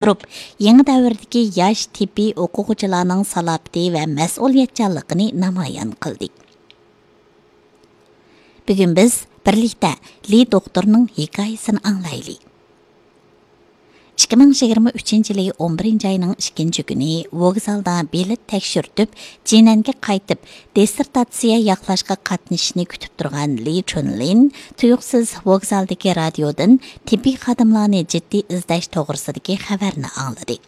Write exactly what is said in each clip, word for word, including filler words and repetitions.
تۇرۇپ، يېڭى دەۋردىكى ياش تېببىي ئوقۇغۇچىلارنىڭ سالاپىتى ۋە مەسئۇلىيەتچانلىقىنى نامايان قىلدى. بۈگۈن بىز بىرلىكتە لى دوختۇرنىڭ ھېكايىسىنى ئاڭلايلى. ئىككى مىڭ يىگىرمە ئۈچىنچى يىلى ئون بىرىنچى ئاينىڭ ئىككىنچى كۈنى ۋوگزالدا بېلەت تەكشۈرتۈپ، جىنەنگە قايتىپ، دىسسېرتاتسىيە ياقلاشقا قاتنىشىشنى كۈتۈپ تۇرغان لى چۈنلىن تۇيۇقسىز ۋوگزالدىكى رادىيودىن تېببىي خادىملارنى جىددىي ئىزدەش توغرىسىدىكى خەۋەرنى ئاڭلىدى.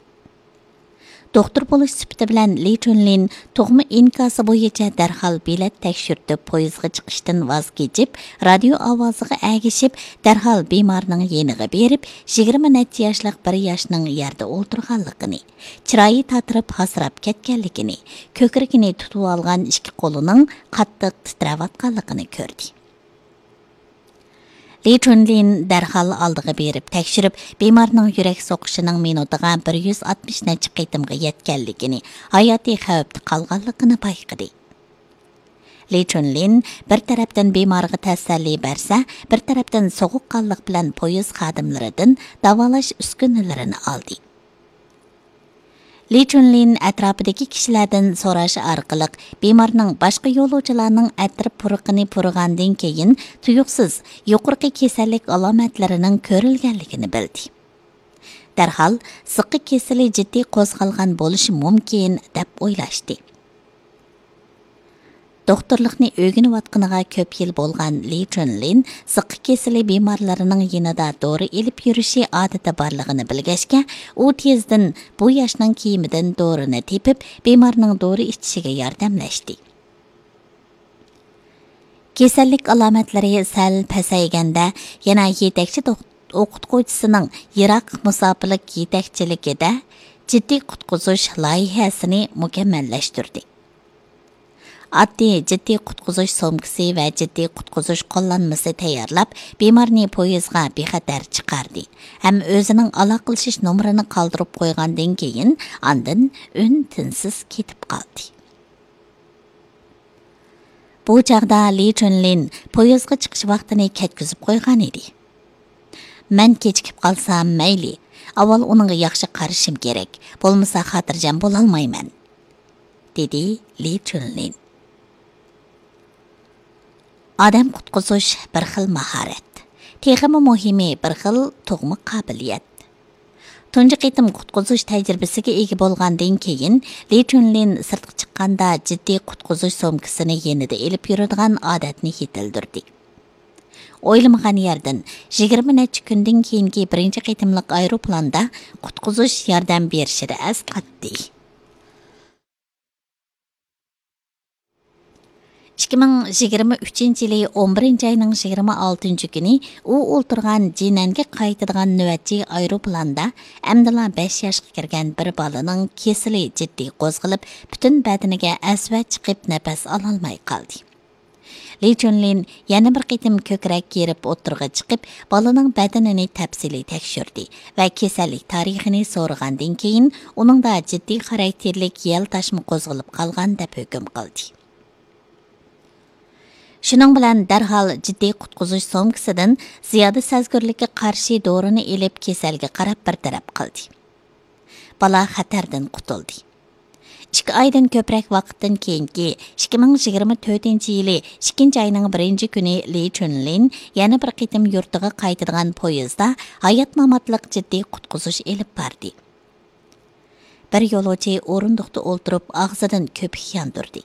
دوختۇر بولۇش سۈپىتى بىلەن لى چۈنلىن تۇغما ئىنكاسى بويىچە دەرھال بېلەت تەكشۈرتۈپ، پويىزغا چىقىشتىن ۋاز كېچىپ، رادىيو ئاۋازىغا ئەگىشىپ، دەرھال بىمارنىڭ يېنىغا بېرىپ، يىگىرمە نەچچە ياشلىق بىر ياشنىڭ يەردە ئولتۇرغانلىقىنى، چىرايى تاتىرىپ ھاسىراپ كەتكەنلىكىنى، كۆكرىكىنى تۇتۇۋالغان ئىككى قولىنىڭ قاتتىق تىترەۋاتقانلىقىنى كۆردى. لى چۈنلىن دەرھال ئالدىغا بېرىپ تەكشۈرۈپ، بىمارنىڭ يۈرەك سوقۇشىنىڭ مىنۇتىغا بىر يۈز ئاتمىش نەچچە قېتىمغا يەتكەنلىكىنى، ھاياتىي خەۋپتە قالغانلىقىنى بايقىدى. لى چۈنلىن بىر تەرەپتىن بىمارغا تەسەللى بەرسە، بىر تەرەپتىن سوغۇققانلىق بىلەن پويىز خادىملىرىدىن داۋالاش ئۈسكۈنىلىرىنى ئالدى. لى چۈنلىن ئەتراپىدىكى كىشىلەردىن سوراش ئارقىلىق بىمارنىڭ باشقا يولۇچىلارنىڭ ئەتىر پۇرىقىنى پۇرىغاندىن كېيىن تۇيۇقسىز يۇقىرىقى كېسەللىك ئالامەتلىرىنىڭ كۆرۈلگەنلىكىنى بىلدى. دەرھال زىققا كېسىلى جىددىي قوزغالغان بولۇشى مۇمكىن، دەپ ئويلاشتى. دوختۇرلۇقنى ئۆگىنىۋاتقىنىغا كۆپ يىل بولغان لى چۈنلىن زىققا كېسىلى بىمارلىرىنىڭ يېنىدا دورا ئېلىپ يۈرۈشى ئادىتى بارلىقىنى بىلگەچكە، ئۇ تېزدىن بۇ ياشنىڭ كىيىمىدىن دورىنى تېپىپ، بىمارنىڭ دورا ئىچىشىگە ياردەملەشتى. كېسەللىك ئالامەتلىرى سەل پەسەيگەندە، يەنە يېتەكچى دوخ-، ئوقۇتقۇچىسىنىڭ يىراق مۇساپىلىك يېتەكچىلىكىدە جىددىي قۇتقۇزۇش لايىھەسىنى مۇكەممەللەشتۈردى. ئاددىي جىددىي قۇتقۇزۇش سومكىسى ۋە جىددىي قۇتقۇزۇش قوللانمىسى تەييارلاپ، بىمارنى پويىزغا بىخەتەر چىقاردى ھەم ئۆزىنىڭ ئالاقىلىشىش نومۇرىنى قالدۇرۇپ قويغاندىن كېيىن، ئاندىن ئۈن-تىنسىز كېتىپ قالدى. بۇ چاغدا لى چۈنلىن پويىزغا چىقىش ۋاقتىنى كەتكۈزۈپ قويغان ئىدى. «مەن كېچىكىپ قالسام مەيلى، ئاۋۋال ئۇنىڭغا ياخشى قارىشىم كېرەك، بولمىسا خاتىرجەم بولالمايمەن»، دېدى لى چۈنلىن. ئادەم قۇتقۇزۇش بىر خىل ماھارەت، تېخىمۇ مۇھىمى بىر خىل تۇغما قابىلىيەت. تۇنجى قېتىم قۇتقۇزۇش تەجرىبىسىگە ئىگە بولغاندىن كېيىن، لى چۈنلىن سىرتقا چىققاندا جىددىي قۇتقۇزۇش سومكىسىنى يېنىدا ئېلىپ يۈرىدىغان ئادەتنى يېتىلدۈردى. ئويلىمىغان يەردىن، يىگىرمە نەچچە كۈندىن كېيىنكى بىرىنچى قېتىملىق ئايروپىلاندا قۇتقۇزۇش ياردەم بېرىشىدە ئەسقاتتى. ئىككى مىڭ يىگىرمە ئۈچىنچى يىلى ئون بىرىنچى ئاينىڭ يىگىرمە ئالتىنچى كۈنى ئۇ ئولتۇرغان جىنەنگە قايتىدىغان نۆۋەتچى ئايروپىلاندا ئەمدىلا بەش ياشقا كىرگەن بىر بالىنىڭ كېسىلى جىددىي قوزغىلىپ، پۈتۈن بەدىنىگە ئەسۋە چىقىپ، نەپەس ئالالماي قالدى. لى چۈنلىن يەنە بىر قېتىم كۆكرەك كېرىپ ئوتتۇرىغا چىقىپ، بالىنىڭ بەدىنىنى تەپسىلىي تەكشۈردى ۋە كېسەللىك تارىخىنى سورىغاندىن كېيىن، ئۇنىڭدا جىددىي خاراكتېرلىك يەل تاشما قوزغىلىپ قالغان، دەپ ھۆكۈم قىلدى. شۇنىڭ بىلەن دەرھال جىددىي قۇتقۇزۇش سومكىسىدىن زىيادە سەزگۈرلۈككە قارشى دورىنى ئېلىپ، كېسەلگە قاراپ بىر تەرەپ قىلدى. بالا خەتەردىن قۇتۇلدى. ئىككى ئايدىن كۆپرەك ۋاقىتتىن كېيىنكى ئىككى مىڭ يىگىرمە تۆتىنچى يىلى ئىككىنچى ئاينىڭ بىرىنچى كۈنى لى چۈنلىن يەنە بىر قېتىم يۇرتىغا قايتىدىغان پويىزدا ھايات-ماماتلىق جىددىي قۇتقۇزۇش ئېلىپ باردى. بىر يولۇچى ئورۇندۇقتا ئولتۇرۇپ، ئاغزىدىن كۆپۈك ياندۇردى.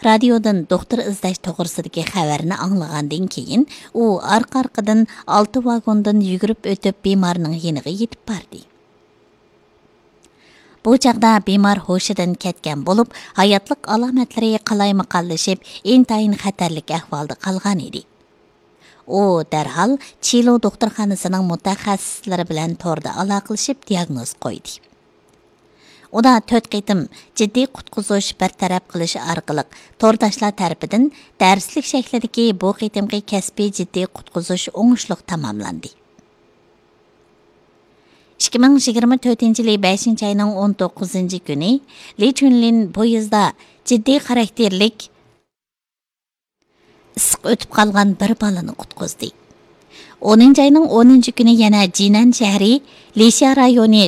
رادىيودىن دوختۇر ئىزدەش توغرىسىدىكى خەۋەرنى ئاڭلىغاندىن كېيىن، ئۇ ئارقا-ئارقىدىن ئالتە ۋاگوندىن يۈگۈرۈپ ئۆتۈپ، بىمارنىڭ يېنىغا يېتىپ باردى. بۇ چاغدا بىمار ھوشىدىن كەتكەن بولۇپ، ھاياتلىق ئالامەتلىرى قالايمىقانلىشىپ، ئىنتايىن خەتەرلىك ئەھۋالدا قالغان ئىدى. ئۇ دەرھال چىلۇ دوختۇرخانىسىنىڭ مۇتەخەسسىسلىرى بىلەن توردا ئالاقىلىشىپ، دىياگنوز قويدى. ئۇدا تۆت قېتىم جىددىي قۇتقۇزۇش بىر تەرەپ قىلىش ئارقىلىق، تورداشلار تەرىپىدىن دەرسلىك شەكلىدىكى بۇ قېتىمقى كەسپىي جىددىي قۇتقۇزۇش ئوڭۇشلۇق تاماملاندى. ئىككى مىڭ يىگىرمە تۆتىنچى يىلى بەشىنچى ئاينىڭ ئون توققۇزىنچى كۈنى لى چۈنلىن پويىزدا جىددىي خاراكتېرلىك ئىسسىق ئۆتۈپ قالغان بىر بالىنى قۇتقۇزدى. ئونىنچى ئاينىڭ ئونىنچى كۈنى يەنە جىنەن شەھىرى لىشيا رايونى